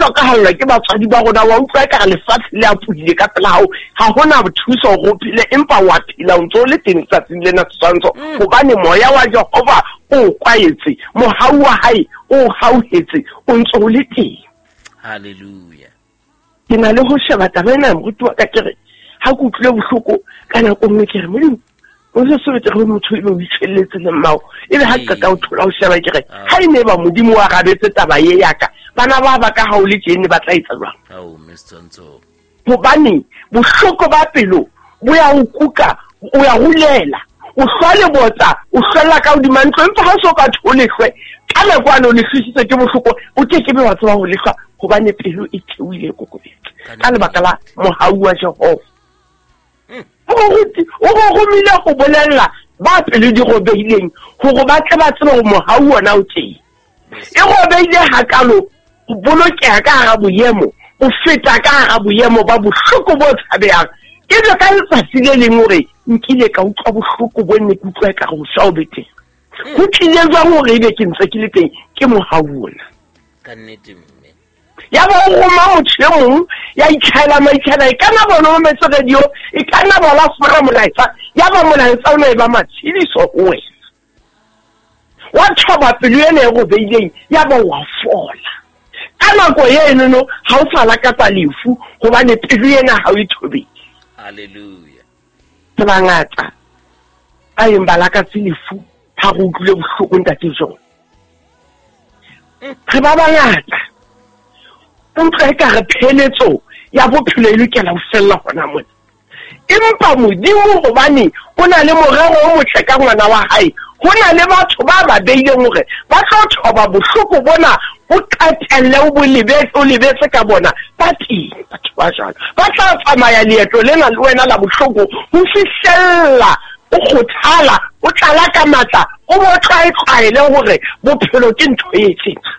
hlokahallwa ke batswadi ba rona, wa utlwa ekare lefatshe le apohile ka pela hao, ha hona thuso hore o phele, empa wa phela o ntse o le teng tsatsing lena Setshwantsho, hobane moya wa Jehova o o kwaetse, mohau wa hae o o hauhetse, o ntse o le teng. Hallelujah. Ke na le ho sheba taba ena, moruti wa ka, ke re ha ke utlwile bohloko ka nako nngwe, ke re Modimo, o se sebetse re motho ebe o itshwelletse le mmao, ebe ha ke qeta ho thola ho sheba, ke re ha e ne ba Modimo wa arabetse taba ye ya ka, bana ba ba ka ha o le tjene ba tla etsa jwang? Ao, Miss Tsontsho. Hobane bohloko ba pelo bo ya o kuka, o ya rulela, o hlwa lebotsa, o hlwella ka hodima ntlo, empa ha o so ka tho lehlwe, ka nako ane o lehlwisitswe ke bohloko, o ke ke be wa tseba ho lehlwa, hobane pelo e theohile e kokobetse ka lebaka la mohau wa Jehova. O go romile go bolella ba pelo di robehileng hore ba tle ba tsebe hore mohau ona o teng. E robehile hakalo ho bolokeha ka hara boemo, o feta ka hara boemo ba bohloko bo tshabehang. Ebe ka letsatsi le leng hore nkile ka utlwa bohloko bo ne ke utlwa ekare ho swa o be teng. Ho tlile jwang hore ebe ke ntse ke le teng? Ke mohau ona. Ka nnete, mme. Ya ba o roma motho e mong ya itlhaela maitshana, e ka nna bona o mametse radio, e ka nna ba la fumana molaetsa, ya ba molaetsa o ne e ba matshediso ho wena. Wa thoba pelo ena e robeileng, ya ba wa fola. Ka nako enono ha o sa lakatsa lefu, hobane pelo ena ha o e thobetse. Hallelujah. Re bangata ba yeng ba lakatse lefu ha re utlwile bohloko, ntate John. Re ba bangata. O utlwa ekare pheletso ya bophelo e lokela ho fella hona mona. Empa Modimo, hobane o na le morero o motle ka ngwana wa hae, ho na le batho ba ba beileng hore ba tlo thoba bohloko bona, o qetelle o bo lebetse, o lebetse ka bona. Ba teng batho ba jwalo, ba tla tsamaya leeto lena le wena la bohloko ho fihlella o kgothala, o tlala ka matla, o bo tlwaetlwaele hore bophelo ke ntho e tjena.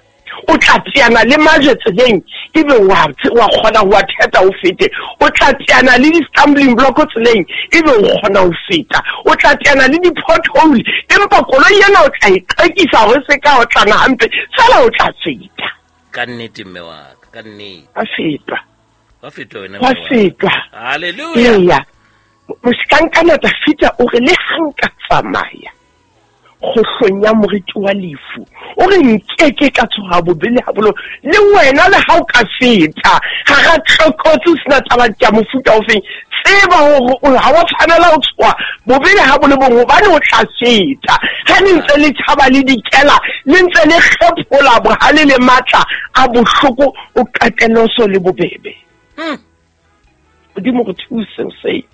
O tla teana le majwe tseleng, ebe wa wa kgona ho wa theta o fete. O tla teana le di-stumbling block tseleng, ebe o kgona ho feta. O tla teana le di-pothole, empa koloi ena o tla e qekisa hore se ka otlana hampe, fela o tla feta. Ka nnete, mme wa ka, ka nnete. Wa fetwa. Wa fetwa wena, Wa mme wa ka. fetwa. Hallelujah. Eya. Mohlankana Dafida o re le ha nka tsamaya kgohlong ya moriti wa lefu, o re nkeke ka tshoha bobe le ha bolo. Le wena le ha o ka feta hara tlokotsi o sena taba ya mofuta o feng, tseba hore o ha wa tshwanela ho tshoha bobe le ha bo le bong, hobane o tla feta. Ha le ntse le tjhaba le dikela, le ntse le kgephola bohale le matla a bohloko, o qetelle o so le bobebe. Modimo re thuse o sei.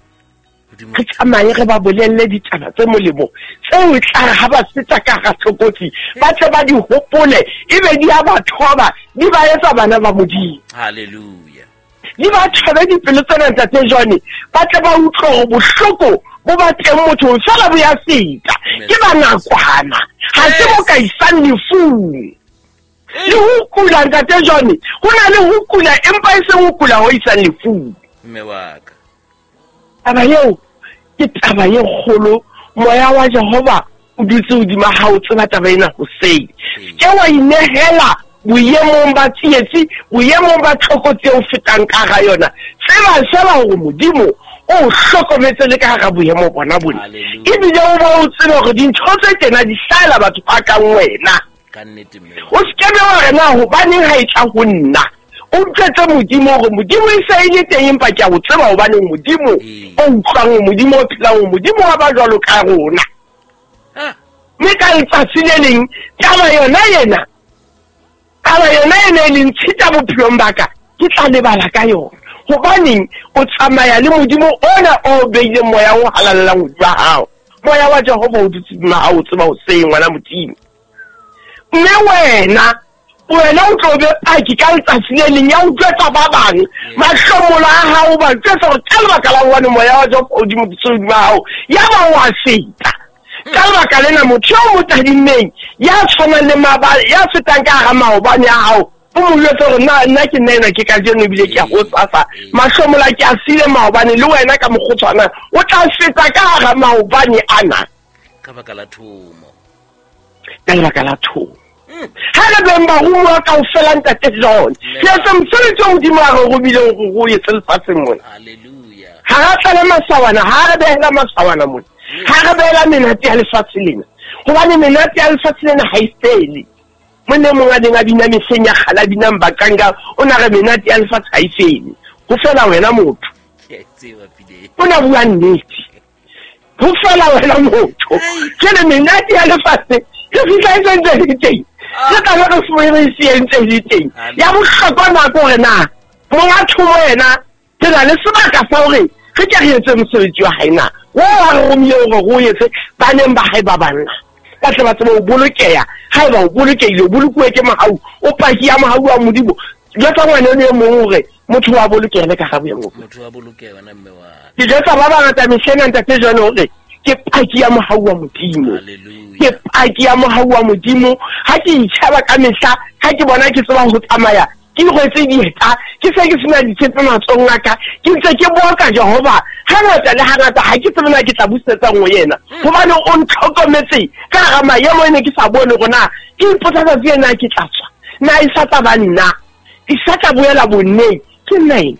Re tsamaye re ba bolelle ditaba tse molemo tseo e tla re ha ba feta ka hara tlokotsi, ba tle ba di hopole, ebe di a ba thoba, di ba etsa bana ba Modimo. Hallelujah. Di ba thobe dipelo tsena, ntate John, ba tle ba utlwe hore bohloko bo ba teng mothong, fela bo ya feta. Ke ba nakwana, ha se bo ka isang lefung. Le ho kula, ntate John, ho na le ho kula, empa e seng ho kula ho isang lefung. Mme wa ka. Taba eo ke taba e kgolo. Moya wa Jehova o dutse hodima hao, tseba taba ena hoseng. Ke wa inehela boemong ba tsietsi, boemong ba tlokotsi eo fetang ka hara yona. Tseba fela hore Modimo o hlokometse le ka hara boemo bona bona. Ebile o bo o tsebe hore dintho tse tjena di hlahela batho ba kang wena. Ka nnete, mme. O se ke be wa re na hobaneng ha e tla ho nna. O utlwetse Modimo hore Modimo e se e le teng, empa ke a o tseba hobane Modimo o utlwang, Modimo o phelang, Modimo wa ba jwalo ka rona. Mme ka letsatsi le leng taba yona ena, taba yona ena e leng tshita bophelong ba ka, ke tla lebala ka yona. Hobaneng o tsamaya le Modimo ona o beileng moya o halalelang hodima hao. Moya wa Jehova o dutse hodima hao, o tseba hoseng, ngwana Modimo. Mme wena, wena o tlo be paki ka letsatsi le leng ya utlwetsa ba bang mahlomola a hao, ba utlwetsa hore ka lebaka la hobane moya wa Jehova o dutse hodima hao, ya ba wa feta. Ka lebaka lena motho eo mo tadimmeng ya tshwanang le maabane, ya fetang ka hara maobane a hao, o mo jwetse hore na nna ke nna enwa ke kajeno ebile ke a hosasa, mahlomola ke a siile maobane, le wena ka mokgwa o tshwanang o tla feta ka hara maobane ana. Ka baka la thomo. Ka lebaka la thomo. Ha re beng baromuwa kaofela, Ntate John, re etse mosebetsi o Modimo a re romileng hore o etse lefatsheng mona. Ha ra tlala masawana, ha re behela masawana mona, ha re behela menate ya lefatshe lena, hobane menate ya lefatshe lena ha e fele. Monna e mong a neng a bina mehleng ya kgale, a binang Bakanga, o na re menate ya lefatshe ha e fele, ho fela wena motho. O na bua nnete, ho fela wena motho. Jwale menate ya lefatshe re fihla e sentse le teng, re tlabe re fumane se entse le teng. Ya bohlokwa nako hore na monga thomo yena re na le sebaka sa hore re ke re etse mosebetsi wa hae na, o a re romile hore re o etse baneng ba hae ba banna, ba tle ba tsebe ho bolokeha. Haeba o bolokehile, o bolokuwe ke mohau, o paki ya mohau wa Modimo. Jwetsa ngwana eno e mong hore motho wa bolokeha le ka ga boemo. Motho wa bolokeha wena mme wa. Ke jwetsa ba bangata mehleng Ntate John hore ke paki ya mohau wa Modimo. Ke paki ya mohau wa Modimo. Ha ke itjheba ka mehla, ha ke bona ke tseba ho tsamaya, ke rwetse dieta, ke se ke sena ditshepe matsohong a ka, ke ntse ke boka Jehova hangata le hangata. Ha ke tsebe na ke tla busetsa nngwe yena, hobane o ntlhokometse ka hara maemo ene ke sa bone hore na ke ipotsa tsatsi ena ke tla tswa, na e sa tla ba nna, e sa tla boela bonneng. Ke nna ena.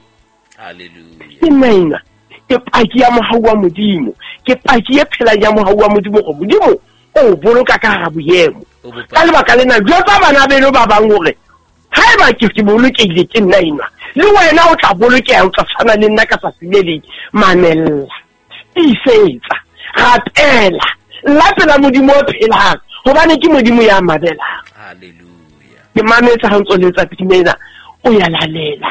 Ke nna ena. Ke paki ya mohau wa Modimo. Ke paki e phelang ya mohau wa Modimo, hore Modimo o boloka ka hara boemo. Ka lebaka lena, jwetsa bana beno ba bang hore haeba ke bolokehile ke nna enwa, le wena o tla bolokeha, o tla tshwana le nna ka tsatsi le leng. Mamella, tiisetsa, rapela, lapela Modimo o phelang, hobane ke Modimo ya mamelang. Ke mametse ha ntso letsa pina ena, o ya lalela,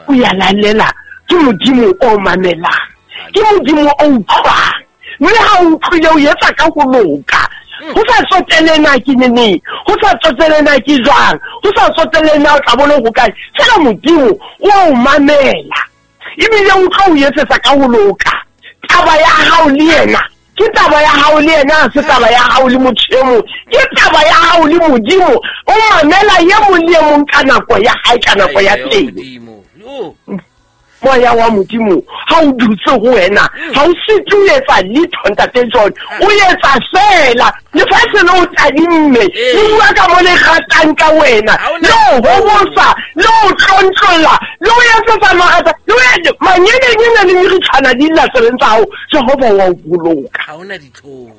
o ya lalela. Ke Modimo o mamelang, ke Modimo o utlwang, mme ha o utlwile o etsa ka ho loka. Ho sa tsotele na ke neneng, ho sa tsotele na ke jwang, ho sa tsotele na o tla bona ho kae, fela Modimo o a o mamela, ebile o tlo o etsetsa ka ho loka. Taba ya hao le yena ke taba ya hao le yena, ha se taba ya hao le motho e mong, ke taba ya hao le Modimo. O mamela ye mong le e mong ka nako ya hae, ka nako ya teng. Moya wa Modimo ha o dutse ho wena, ha o sitwe ho etsa letho, Ntate John. O etsa fela lefatshe le o tadimme, le bua ka mo le ratang ka wena, le o hobosa, le o tlontlolla, le o etsetsa marata, le o manyenenyene le meritshwana di lla tseleng tsa hao. Jehova wa o boloka. Ha hona ditlhong.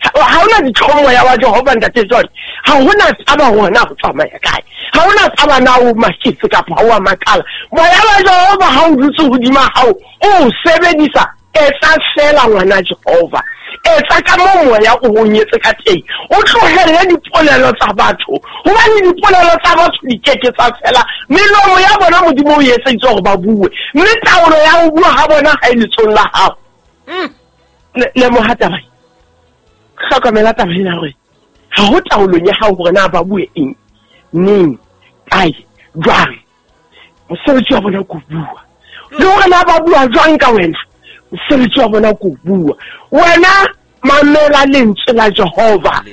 Ha hona ditlhong moya wa Jehova, Ntate John. Ha hona taba hore na ho tsamaya kae, ha hona taba na o maketse kapa ha o a makala. Moya wa Jehova ha o dutse hodima hao, o sebedisa. Etsa fela ngwana Jehova, etsa ka moo moya o o nyetse ka teng, o tlohelle dipolelo tsa batho, hobane dipolelo tsa batho di keke tsa fela. Melomo ya bona Modimo o etseditse hore ba bue, mme taolo ya ho bua ha bona ha e letsong la hao. Lemoha taba e, hlokomela taba ena hore ha ho taolong ya hao hore na ba bue eng, neng, kae, jwang. Mosebetsi wa bona ke ho bua, le hore na ba bua jwang ka wena, mosebetsi wa bona ke ho bua. Wena mamela lentswe la Jehova.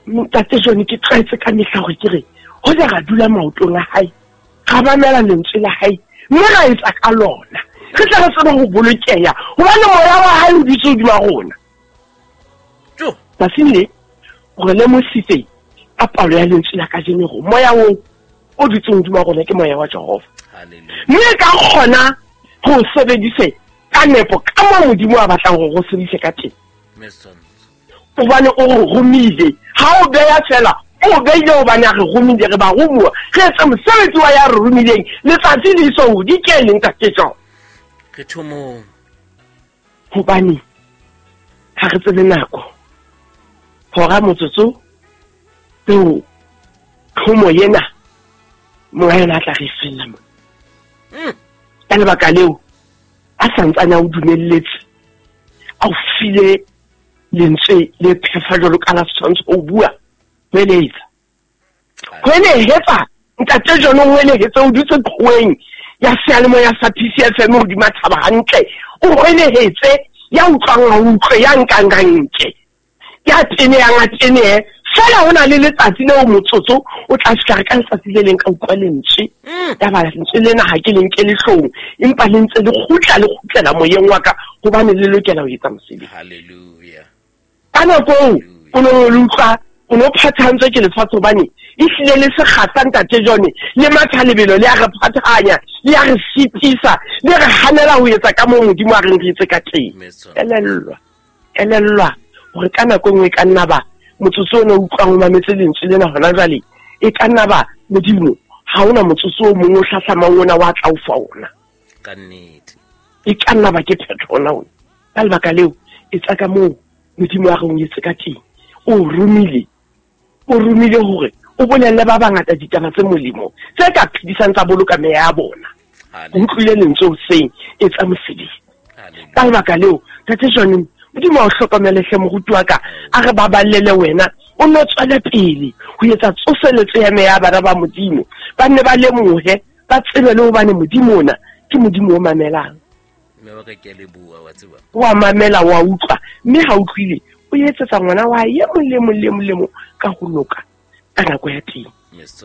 Ntate John, ke tlwaetse ka mehla hore ke re hoja ra dula maotong a hae, ra mamela lentswe la hae, mme ra etsa ka lona, re tle re tsebe ho bolokeha, hobane moya wa hae o dutse hodima rona. Tsatsing le o re lemositse ka palo ya lentswe la kajeno hore moya oo o dutseng hodima rona ke moya wa Jehova, mme ka kgona ho sebedise ka nepo ka moo Modimo a batlang hore o sebedise ka teng, hobane o re romile. Ha o beya fela, o beile hobane a re romile, re ba romuwa, re etse mosebetsi wa ya re romileng letsatsi le iso ho di kene, Ntate John. Re thomong. Hobane ha re tsebe nako, hora, motsotso, tseo thomo ena monga yona a tla re fella mona. Ka lebaka leo a santsane a o dumelletse, a o file lentswe le phefa jwalo ka la setshwantsho, o bua, hweletsa, hwelehetsa. Ntate John, o hwelehetse, o dutse qhoweng ya seyalemoya sa PCFM hodima thaba hantle, o hwelehetse, ya utlwang a utlwe, ya nkang a nke, ya tenehang a tenehe. Fela ho na le letsatsi leo motsotso o tla fihla re ka letsatsi le leng ka utlwa lentswe. Ya ba lentswe lena ha ke le nke lehlong, empa le ntse le kgutla, le kgutlela moyeng wa ka, hobane le lokela ho etsa mosebetsi. Hallelujah. Ka nako eo o neng o le utlwa O no phathahantswe ke lefatshe hobane ehlile le sekgahla ntate John le matha lebelo le a re phathahanya, le a re sitisa, le re hanela ho etsa ka moo Modimo a reng re etse ka teng. Elellwa, elellwa hore ka nako e nngwe e ka nna ba motsotso ona o utlwang o mametse lentswe lena hona jwale, e ka nna ba Modimo ha hona motsotso o mong o hlahlamang ona wa tla o fa ona. Ka nnete. E ka nna ba ke phetho ona ona. Ka lebaka leo, etsa ka moo Modimo a reng o etse ka teng. O romile, o romile hore o bolelle ba bangata ditaba tse molemo tse ka phedisang tsa boloka meya ya bona. O utlwile lentswe hoseng, etsa mosebetsi. Ka lebaka leo, Ntate Johnny, Modimo a o hlokomele hle moruti wa ka, a re baballele wena, o nno tswele pele ho etsa tsoseletso ya meya ya bana ba Modimo. Ba nne ba lemohe, ba tsebe le hobane Modimo ona ke Modimo o mamelang. Mme wa ka ke a leboha, wa tseba. Wa mamela, wa utlwa, mme ha utlwile, o etsetsa ngwana wa hae e mong le mong le mong le mong ka ho loka ka nako ya teng.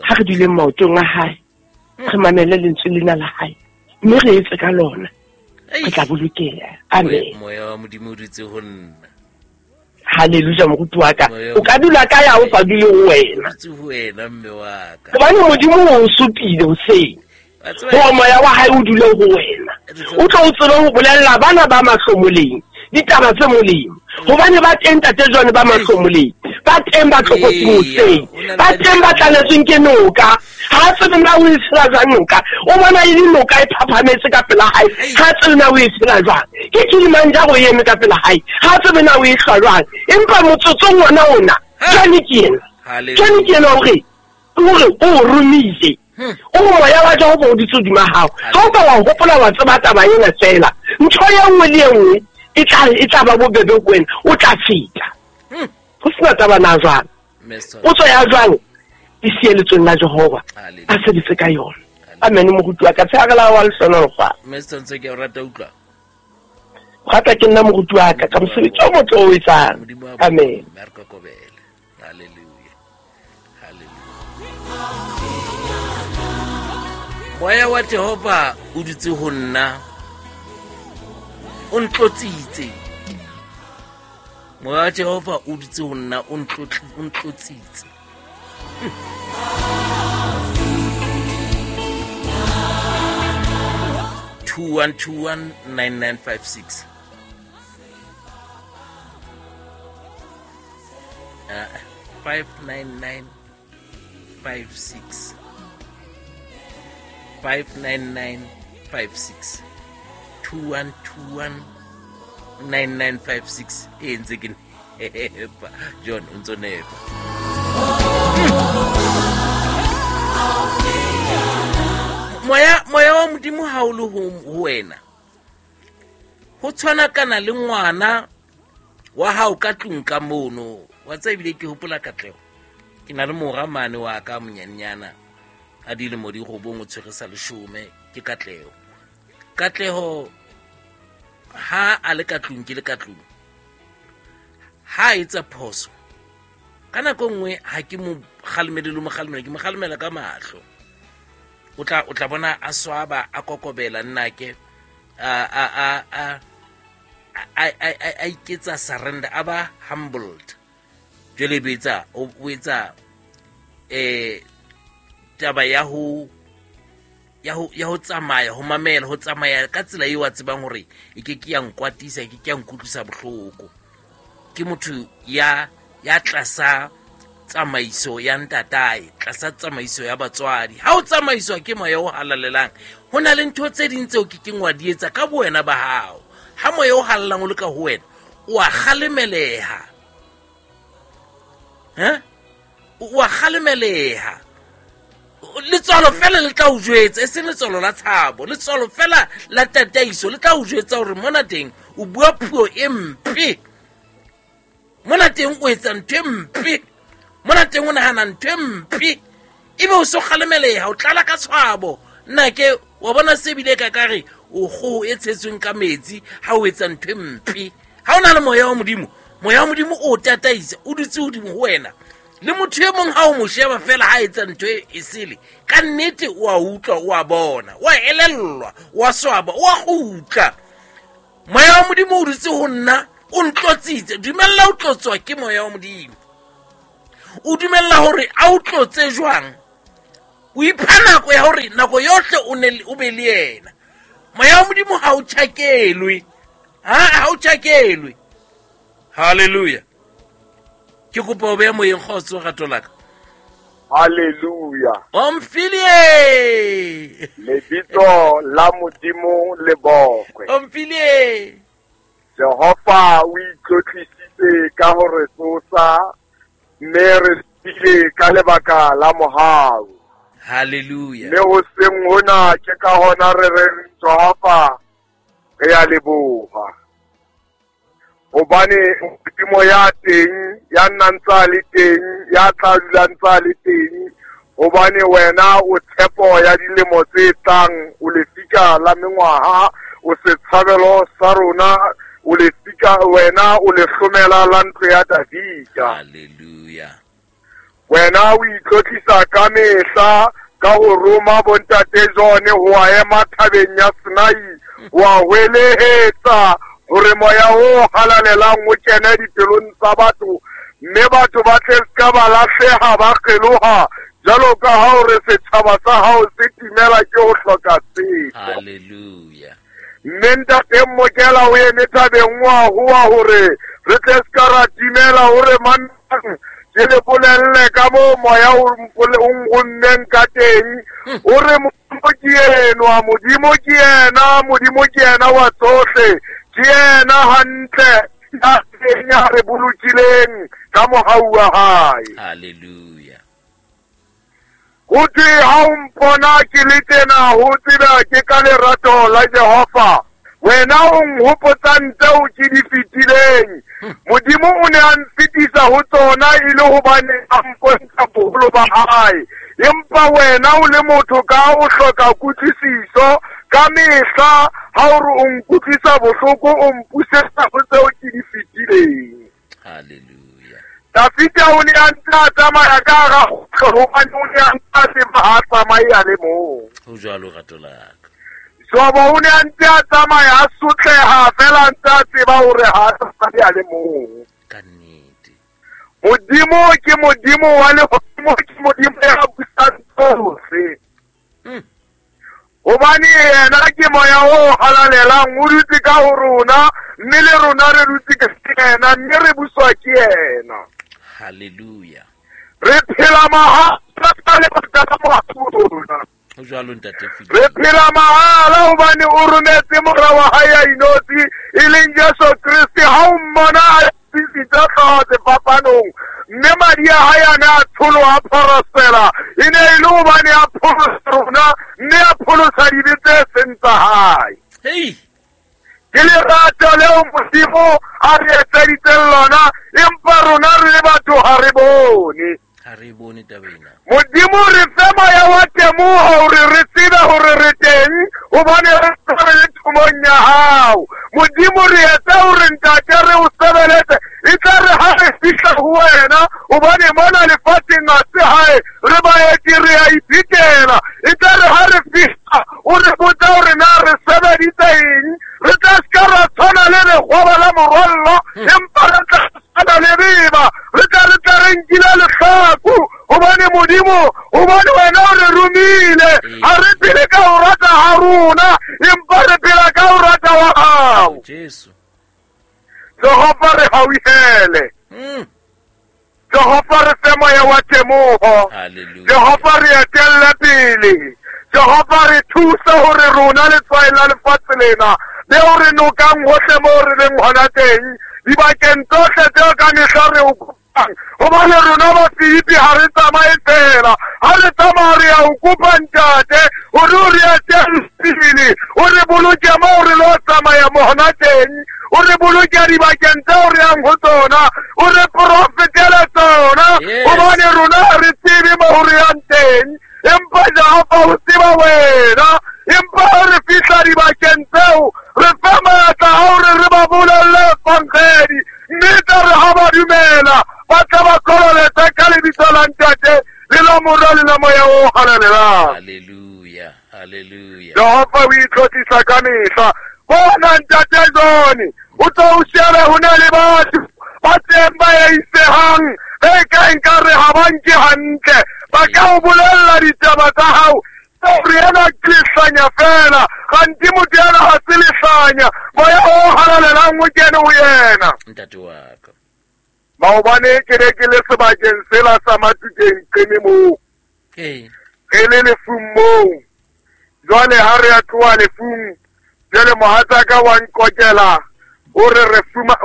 Ha re duleng maotong a hae, re mamele lentswe lena la hae, mme re etse ka lona, re tla bolokeha. Amen. Moya wa Modimo o dutse ho nna. Hallelujah, moruti wa ka. O ka dula kae ha o sa dule ho wena? Dutse ho wena, mme wa ka. Hobane Modimo o supile hoseng. Hore moya wa hae o dule ho wena. O tlo o tsebe ho bolella bana ba mahlomoleng ditaba tse molemo. Hobane ba teng Ntate John ba mahlomoleng, ba teng ba tlokotsing hoseng, ba teng ba tlaletsweng ke noka. Ha a tsebe na o e tshela jwang noka, o bona e le noka e phaphametse ka pela hae, ha a tsebe na o e tshela jwang. Ke Kilimanjaro e eme ka pela hae, ha a tsebe na o e hlwa jwang. Empa motsotsong wona ona, Johnny ke yena. Johnny ke yena hore hore o o romile. O re moya wa Jehova o dutse hodima hao. Ha o ka wa hopola wa tseba taba ena feela, ntho e nngwe le e nngwe e tla e tla ba bobebe ho wena, o tla feta. Ho sena taba na jwang. Potso ya jwang e siye letsweng la Jehova, a sebetse ka yona. Amen, moruti wa ka, tshehare la wa lehlonolofatsa. Mme Setswantsho, ke a o rata utlwa. Rata ke nna moruti wa ka, ka mosebetsi o motle o etsang. Amen. Hallelujah. Hallelujah. Moya wa Jehova o dutse ho nna, o ntlotsitse. Moya wa Jehova o dutse ho nna, o ntlotsitse. 21219956. 59956. 59956. 21219956. E ntse ke nepa. John, o ntso nepa. Moya, moya wa Modimo ha o le ho wena, ho tshwana kana le ngwana wa hao ka tlung ka mono. Wa tseba ebile ke hopola Katleho. Ke na le mora mane wa ka monyenyana a dilemo di robong, o tshwere sa leshome, ke Katleho. Katleho ha a le ka tlung, ke le ka tlung, ha a etsa phoso ka nako nngwe, ha ke mo kgalemele le mo kgalemela, ke mo kgalemela ka mahlo. O tla bona a swaba, a kokobela nnake, a iketsa surrender, a ba humbled. Jwale be etsa, o etsa, taba ya ho, ya ho, ya ho tsamaya, ho mamela, ho tsamaya ka tsela eo a tsebang hore e ke ke ya nkwatisa, e ke ke ya nkutlwisa bohloko. Ke motho ya tlasa tsamaiso ya ntatae, tlasa tsamaiso ya batswadi. Ha o tsamaiswa ke moya o halalelang, ho na le ntho tse ding tseo ke keng wa di etsa ka bowena ba hao. Ha moya o halalelang o le ka ho wena, o a kgalemeleha. Ha? O a kgalemeleha. Letswalo fela le tla o jwetsa, e seng letswalo la tshabo, letswalo fela la tataiso le tla o jwetsa hore mona teng o bua puo e mpe, mona teng o etsa ntho e mpe, mona teng o nahana ntho e mpe, ebe o so kgalemeleha, o tlala ka tshwabo. Nna ke wa bona se bile ka kare o kgoho e tshetsweng ka metsi ha o etsa ntho e mpe. Ha o na le moya wa Modimo, moya wa Modimo o tataisa, o dutse hodimo ho wena. Le motho e mong ha o mo sheba fela ha etsa ntho e sele, ka nnete o a utlwa, o a bona, o a elellwa, o a swaba, o a kgutla. Moya wa Modimo o dutse ho nna, o ntlotsitse. Dumella o tlotswa ke moya wa Modimo. O dumella hore a o tlotse jwang? O ipha nako ya hore nako yohle o ne o be le yena. Moya wa Modimo ha o tjhakelwe. Ha o tjhakelwe. Hallelujah. Ke kopa o behe moyeng kgotso rato la ka. Hallelujah. Omphile. Lebitso la Modimo le bokwe. Omphile. Jehova o itlotlisitse ka ho re tsosa mme re tsile ka lebaka la mohau. Hallelujah. Mme hoseng hona ke ka hona re reng Jehova re a leboha. Hobane Modimo ya teng, ya nnang tsa le teng, ya tla dulang tsa le teng, hobane wena o tshepo ya dilemo tse tlang, o lefika la mengwaha, o setshabelo sa rona, o lefika wena o lehlomela la ntlo ya Davida. Hallelujah. Wena o itlotlisa ka mehla ka ho roma bontate John ho a ema thabeng ya Sinai, wa hwelehetsa hore moya o halalelang o kene dipelong tsa batho, mme batho ba tle ska ba lahleha ba kgeloha jwalo ka ha hore setjhaba sa hao se timela ke ho hloka tsebo. Hallelujah. Mme ntate Mokela o eme thabeng wa hoa hore re tle ska ra timela, hore mang ke le bolelle ka moo moya o nrommeng ka teng. O re Modimo ke enwa, Modimo ke yena, Modimo ke yena wa tsohle, ke yena hantle ya teng ya re bolokileng ka mohau wa hae. Hallelujah. Ho thwe ha o mpona ke le tena, ho tseba ke ka lerato la Jehova. Wena o nhopotsa tseo ke di fetileng. Modimo o ne a nfetisa ho tsona e le hobane a mpontsha boholo ba hae. Empa wena o le motho ka o hloka kutlwisiso ka mehla, ha o re o nkutlwisa bohloko, o mpusetsa ho tseo ke di fetileng. Hallelujah. Dafita o ne a ntse a tsamaya ka hara kgohlo, hobane o ne a ntse a tseba ha a tsamaye a le mong. Ho jwalo rato la ka. Jobo o ne a ntse a tsamaya a sotleha fela a ntse a tseba hore ha a tsamaye a le mong. Ka nnete. Modimo ke Modimo wa lehodimo, ke Modimo ya busang tsohle. Hobane yena ke moya o halalelang, o dutse ka ho rona, mme le rona re dutse ka yena, mme re buswa ke yena. Hallelujah. Re phela mahala ka lebaka la mohau wa rona. Ho jwalo ntate Philip. Re phela mahala hobane o rometse mora wa hae a inotshi, e leng Jesu Kreste. Ha o mmona a tsitsitse hlooho sefapanong, mme madi a hae a ne a tsholoha phorosela, e ne e le hobane a pholosa rona, mme a pholosa dibe tse seng tsa hae. Hey. Ke lerato leo Modimo a re etseditseng lona, empa rona re le batho ha re bone. Ha re bone taba ena. Modimo re fe moya wa temoho hore re tsebe hore re teng, hobane re re le thomong ya hao. Modimo re etse hore ntate re o sebeletse, e tla re ha re fihla ho wena, hobane mona lefatsheng ha se hae, re baeti re a iphetela. E tla re ha re fihla o re botsa hore na re sebeditse eng, re tla ska ra tshwana le lekgoba la morwallo, empa re tla tshwana le beba, re tla re nkile lehlaku, hobane Modimo, hobane wena o re romile. Ha re phele ka ho rata ha rona, empa re phela ka ho rata wa hao. Jesu. Jehova re hauhele. Jehova re fe moya wa temoho. Hallelujah. Jehova re etelle pele. Jehova re thuse hore rona letswai la lefatshe lena leo re nokang hohle moo re leng hona teng, dibakeng tsohle tseo ka mehla re o kopang. Hobane rona ba Filipi ha re tsamaye fela, ha re tsamaya re a o kopa ntate hore o re etelle pele, o re boloke moo re lo tsamaya mo hona teng, o re boloke dibakeng tseo re yang ho tsona, o re profetele tsona, hobane rona ha re tsebe mo re yang teng, empa Jehova o tseba wena. Empa ha re fihla dibakeng tseo, re fe matla a hore re ba bolelle evangedi, mme tla re ha ba dumela, ba tla ba kolobetsa ka lebitso la Ntate le la Mora le la Moya o Halalelang. Hallelujah. Hallelujah. Jehova o itlotlisa ka mehla. Bona ntate John, o tlo o shebe ho na le batho Ba teng ba eisehang, be ka nkare ha ba nke hantle, ba ka o bolella ditaba tsa hao. Re ena ke lehlanya fela, kganti motho ena ha se lehlanya, moya o halalelang o kene ho yena. Ntate wa ka. Maobane ke ne ke le sebakeng sela sa Matukeng Qeme moo. Re le lefung moo. Jwale ha re a tloha lefung, jwale mohatsaka wa nkokela o re re fuma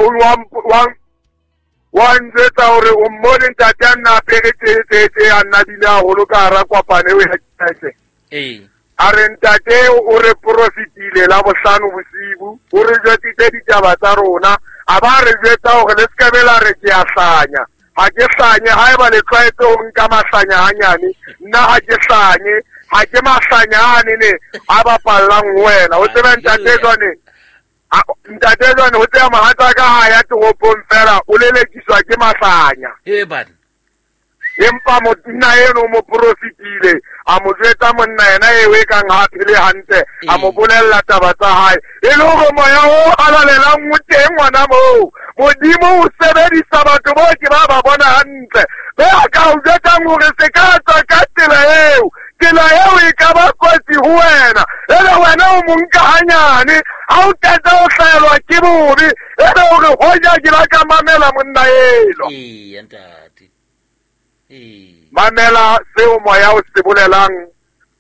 wa njwetsa hore o mmone ntate a nna apere tje a nna bile haholo ka hara kopano eo ya kereke. A re ntate o re profitile la bohlano bosibu, o re jwetsitse ditaba tsa rona, a ba re jwetsa hore le se ke la re ke a hlanya. Ha ke hlanye, haeba le tlwaetse ho nka mahlanya hanyane, nna ha ke hlanye, ha ke mahlanya ane ne a bapallang ho wena. O tsebe ntate jwane, ntate jwane ho tseba mohatsaka ha ya toropong fela o lelekiswa ke mahlanya. Empa monna eno o mo profitile, a mo jwetsa monna yena eo e kang ha phele hantle, a mo bolella taba tsa hae. E le hore moya o halalelang o teng ngwana moo. Modimo o sebedisa batho bo ke ba ba bona hantle. Be a ka o jwetsang hore se ka tswa ka tsela eo. Tsela eo e ka ba kotsi ho wena. Ebe wena o mo nka hanyane, ha o qeta o hlaelwa ke bobe, ebe hore hoja ke la ka mamela monna eno. Ntate. Mamela seo moya o se bolelang,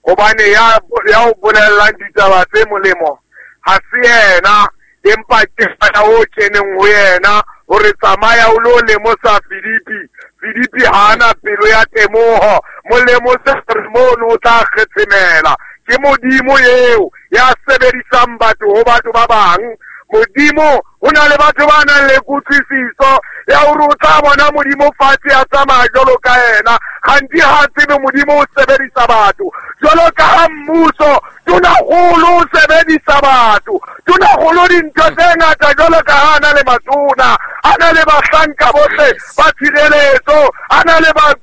hobane ya o bolellang ditaba tse molemo ha se yena, empa ke moya o keneng ho yena hore tsamaya o lo lemosa Filipi. Filipi ha ana pelo ya temoho, mo lemose hore mono o tla kgetshemela. Ke Modimo eo ya sebedisang batho ho batho ba bang. Modimo o na le batho ba nang le kutlwisiso ya hore o tla bona Modimo fatshe a tsamaya jwalo ka yena, kganti ha tsebe Modimo o sebedisa batho. Jwalo ka ha mmuso tonakgolo o sebedisa batho, tonakgolo dintho tse ngata jwalo ka ha a na le matona, a na le bahlanka bohle ba tshireletso, a na le ba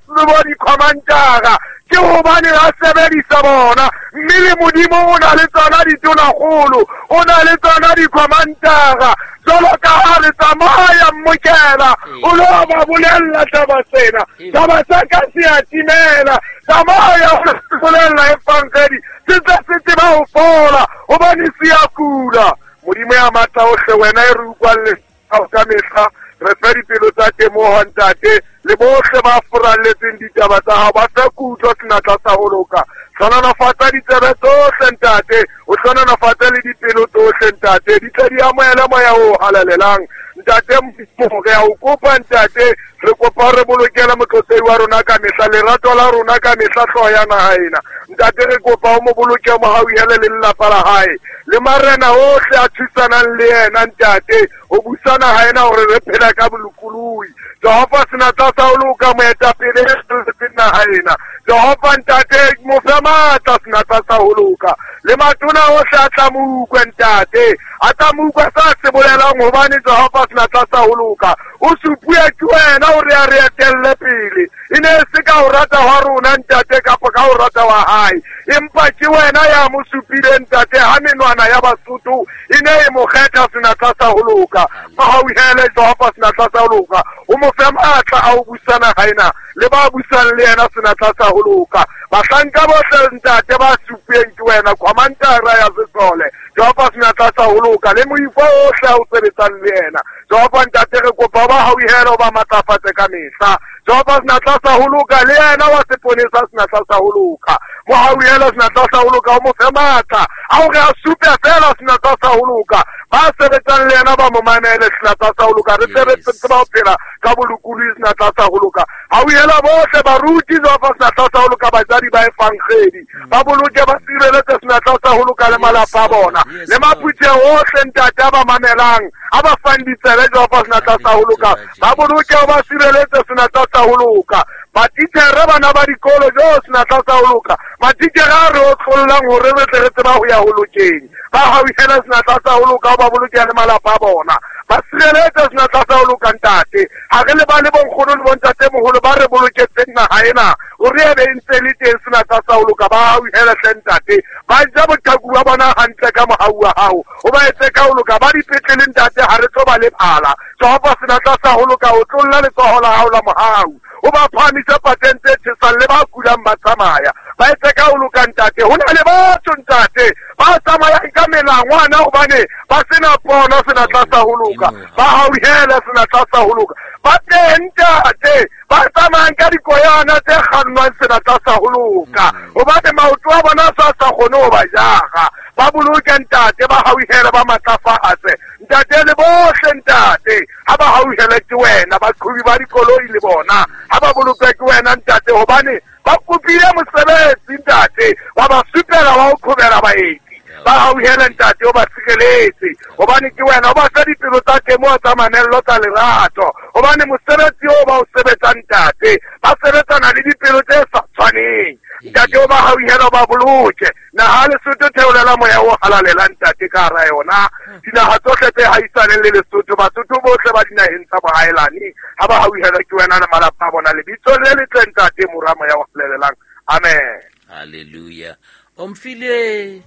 dikhomantara. Ke hobane a sebedisa bona, mme le Modimo o na le tsona ditonakgolo, o na le tsona dikhomantara. Jwalo ka ha re tsamaya mmokela, o lo ba bolella taba tsena, taba tsa ka se a timela. Tsamaya o lo bolella evangeli, se tla se tseba ho fola, hobane se a kula. Modimo ya matla ohle, wena e re utlwang le ka mehla, re fe dipelo tsa temoho ntate, le bohle ba furalletseng ditaba tsa hao, ba fe kutlo senatla sa ho loka. Hlohonolofatsa ditsebe tsohle ntate, o hlohonolofatse le dipelo tsohle ntate, di tle di amohele moya o halalelang. Ntate Modimo, re a o kopa ntate, re kopa re bolokele motlotlehi wa rona ka mehla, lerato la rona ka mehla, hlooho ya naha ena. Ntate re kopa o mo boloke, mo hauhele le lelapa la hae, le marena ohle a thusanang le yena ntate, ho busa naha ena hore re phela ka bolokolohi. Jehova senatla sa ho loka, moetapele e naha ena. Jehova ntate, mo fe matla senatla sa ho loka, le matona ohle a tla mo utlwe ntate, a tla mo utlwa sa se bolelang, hobane Jehova senatla sa ho loka o supuwe ke wena hore a re etelle pele. E ne se ka ho rata hwa rona ntate, kapa ka ho rata wa hae, empa ke wena ya mo supileng ntate, ha menwana ya Basotho e ne e mo kgetha senatla sa ho loka. Mahauhele Jehova senatla sa ho loka, o mo fe matla a ho busa naha ena, le ba busang le yena senatla sa ho loka. Bahlanka bohle ntate ba supueng ke wena, khomantara ya sesole Jehova senatla sa ho loka, le moifo ohle a o sebetsang le yena. Jehova ntate re kopa ba hauhele, o ba matlafatse ka mehla. Jehova senatla sa ho loka, le yena wa seponesa senatla sa ho loka, mo hauhele senatla sa ho loka, o mo fe matla a hore a supe fela senatla sa ho loka. Ba sebetsang le yena ba mo mamele senatla sa ho loka, re sebetse tseba ho phela ka bolokolohi senatla sa ho loka. Hauhela bohle baruti Jehova senatla sa ho loka, batswadi ba evangeli ba boloke, ba sireletse senatla sa ho loka le malapa a bona, le maphutheho ohle ntate a ba mamelang, a ba fang ditsebe Jehova senatla sa ho loka, ba boloke, ba sireletse senatla sa ho loka. Matitjhere bana ba dikolo jo senatla sa ho loka, matitjhere a re otlollang hore re tle re tseba ho ya ho lokeng. Ba hauhele senatla sa ho loka, o ba boloke le malapa a bona. Ba sireletse senatla sa ho loka, ntate. Ha re lebale bonkgono le bontatemoholo ba re boloketseng naha ena, hore e be e ntse le teng senatla sa ho loka. Ba hauhele hle, ntate. Ba ja boqaku ba bona hantle ka mohau wa hao, o ba etse ka ho loka. Ba dipetlele, ntate, ha re tlo ba lebala. Jehova, senatla sa ho loka, o tlolla letsoho la hao la mohau, o ba phahamise pateng tse tjhesang, le ba kulang ba tsamaya, ba etse ka ho loka, ntate. Ho na le batho, ntate, ba tsamayang ka melangwana hobane ba sena pono, senatla sa ho loka. Ba hauhele, senatla sa ho loka. Ba teng, ntate, ba tsamayang ka dikoyana tse kgannwang, senatla sa ho loka, hobane maoto a bona sa sa kgone ho ba jara. Ba boloke, ntate, ba hauhele, ba matlafatse, ntate, le bohle, ntate, ha ba hauhele ke wena. Baqhobi ba dikoloi le bona ha ba bolokwe ke wena, ntate, hobane ba kopile mosebetsi, ntate, ba ba supela wa ho qhobela baeti. Ba hauhele, ntate, o ba sireletse, hobane ke wena. O ba fe dipelo tsa temoho, tsa mamello, tsa lerato, hobane mosebetsi o ba o sebetsang, ntate, ba sebetsana le dipelo tse sa tshwaneng. Ntate, o ba hauhele, o ba boloke. Naha Lesotho, theolela moya o halalelang, ntate, ka hara yona. Dinaha tsohle tse haisaneng le Lesotho, Basotho bohle ba dinaheng tsa bohaelane, ha ba hauhelwa ke wena le malapa a bona. Lebitsong le letle, ntate, Mora, Moya o Halalelang, amen. Halleluja. Omfile.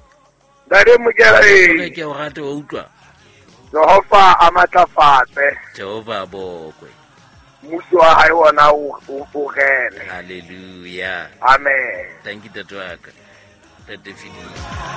Ntate Mokela. E ke o rate wa utlwa. Jehova a matlafatse. Jehova bokwe. Mmuso wa hae ona o rene. Halleluja. Amen. Thank you, tate wa ka, tate Fidile.